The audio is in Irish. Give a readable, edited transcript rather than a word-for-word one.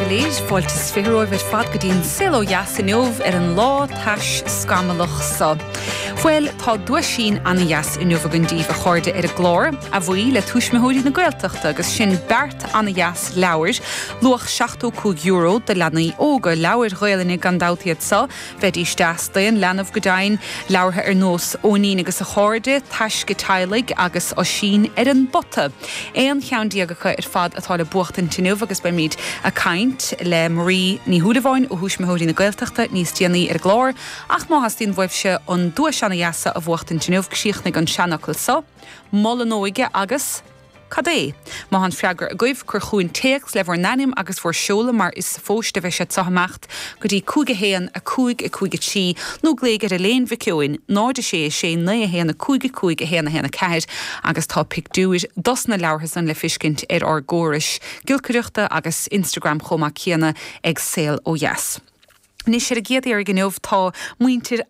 uilig, fáilte is 20 romhaibh ar fad go dtí an Saol Ó Dheas inniu ar an lá tais scamallach seo. Bhuel, tá duaisín ana-dheas inniu againn daoibh, a chairde, ar an gclár, a bhuí le Tuismitheoirí na Gaeltachta agus sin beart ana-dheas leabhair, luach €75 do leanaí óga, leabhair Ghaelainne gan dabht iad seo, Bheidís deas d'aon leanbh go deimhin, leabhartha ar nós Eoinín agus a Chairde, Taisce Teaghlaigh agus Oisín ar an bPota. Aon cheann déag acu ar fad atá le buachtaint inniu agus beimid a' caint le Marie Ní Shúilleabháin ó Thuismitheoirí na Gaeltachta níos déanaí ar an gclár ach má theastaíonn uaibhse an duais ana-dheas seo a bhuachtaint inniu, críochnaigh an seanfhocal seo, Mol an óige agus. Cad é? Má tá an freagra agaibh, cuir chugainn téacs le bhur n-ainm agus bhur seoladh mar is sa phost a bheidh siad seo ag imeacht go dtí 5 1 5 5 3 nó glaoigh ar Elaine Mhic Eoin, 0 6 6 9 1 5 5 1 1 4 agus tá pictiúir dos na leabhartha san le fiscint ar ár gcórais giolcaireachta agus Instagram chomh maith céanna ag Saol Ó Dheas. Anois ar an gcéad iarraidh inniu tá muintir.